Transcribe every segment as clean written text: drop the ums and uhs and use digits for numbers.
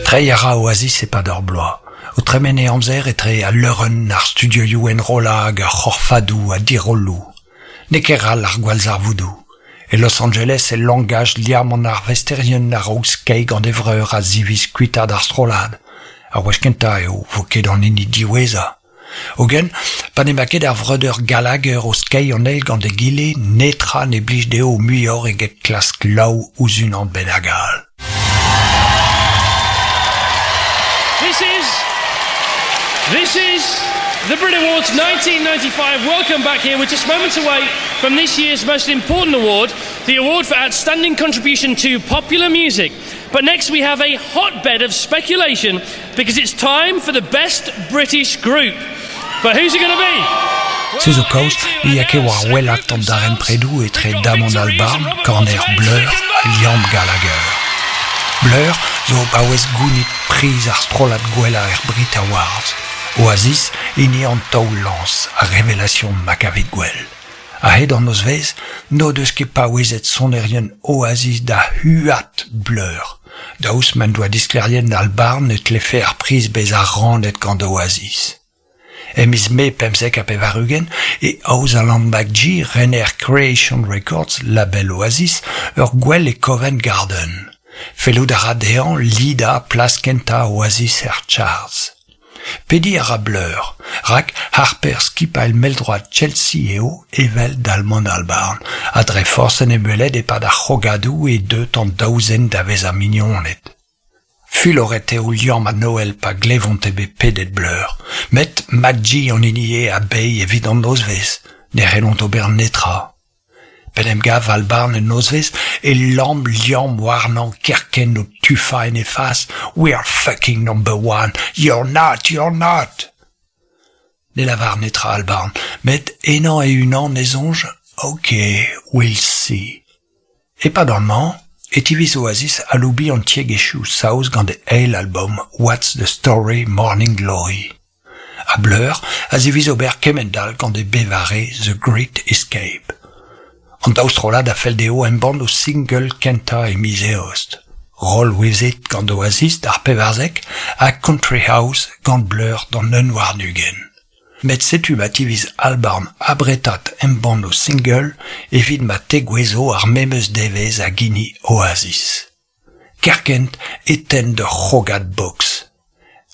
Treiñ a ra Oasis e-pad ur bloaz, o tremen e amzer etre al leurenn, ar studioioù enrollañ hag ar c'horfadoù ha dirolloù. N'eo ket ral ar gwallzarvoudoù. E Los Angeles e langaj liamm an arvesterien a-raok skeiñ gant e vreur a ziviz kuitaat ar strollad. Ar wech kentañ eo 'vo ket an hini diwezhañ. Hogen, pa n'emañ ket ar vreudeur Gallagher o skeiñ an eil gant egile, netra ne blij dezho muioc'h eget klask laou ouzh unan bennak all. This is This is the Brit Awards 1995. Welcome back here. We're just moments away from this year's most important award, the award for outstanding contribution to popular music. But next we have a hotbed of speculation because it's time for the best British group. But who's it going to be? Se zo kaoz ne ya ket war wellaat an darempredoù etre Damon Albarn, kaner Blur ha Liam Gallagher. Blur zo o paouez gounit priz ar strollad gwellañ er Brit Awards, Oasis hini an taol-lañs, ar révélation ma kavit gwell. A-hed an nozvezh n'o deus ket paouezet sonerien Oasis da huat Blur, daoust m'en doa disklêriet Albarn e tlefe ar priz bezañ rannet gant Oasis. E miz Mae 95 e aoz Alan McGee, rener Creation Records, label Oasis, ur gwel e Covent Garden. Fellout a ra dezhañ lidañ plas kentañ Oasis er charts. Pediñ a ra Blur, rak harper skipailh mell-droad Chelsea eo evel Damon Albarn, ha dre forzh en em welet e-pad ar c'hrogadoù eo deuet an daou zen da vezañ mignoned. Fuloret eo Liam ha Noel pa glevont eo bet pedet Blur, met McGee an hini eo a bae evit an nozvezh, ne c'hellont ober netra. P'en em gav Albarn en nozvezh e lamm Liam warnañ kerkent o tufañ en e fas We're fucking number one, you're not, you're not! Ne lavar netra Albarn, met ennañ e-unan e soñj Ok, we'll see. E-pad an hañv e tiviz Oasis aloubiñ an tiegezhioù saoz gant e eil albom What's the Story Morning Glory. Ha Blur a ziviz ober kement-all gant e bevare The Great Escape. An daou strollad a fell dezho embann o single kentañ e miz Eost. Roll With It gant Oasis d'ar pevarzek ha Country House gant Blur d'an un warn-ugent. Met setu ma tiviz Albarn abretat embann o single evit ma tegouezho ar memes devezh hag hini Oasis. Kerkent e tenn d'ur c'hrogad boks.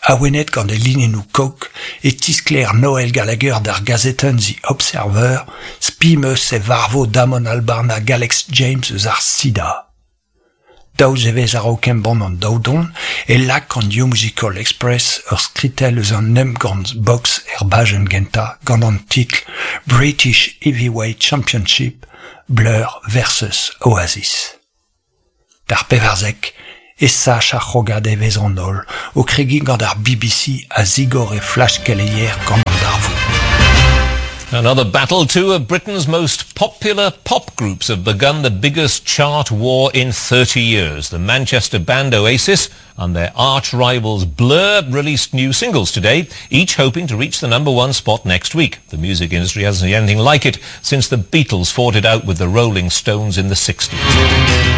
Awenet gant e linennoù coke e tisklêr Noel Gallagher d'ar gazetenn The Observer spi 'm eus e varvo Damon Albarn hag Alex James eus ar sida. Daou zevezh a-raok embann an daou don e lak an New Musical Express ur skritell eus an emgann boks er bajenn gentañ gant an titl British Heavyweight Championship Blur versus Oasis. D'ar pevarzek e sach ar c'hrogad evezh an holl o kregiñ gant ar BBC a zigor e flash keleier gant an darvoud. Another battle, two of Britain's most popular pop groups have begun the biggest chart war in 30 years. The Manchester band Oasis and their arch rivals Blur released new singles today, each hoping to reach the number one spot next week. The music industry hasn't seen anything like it since the Beatles fought it out with the Rolling Stones in the 60s.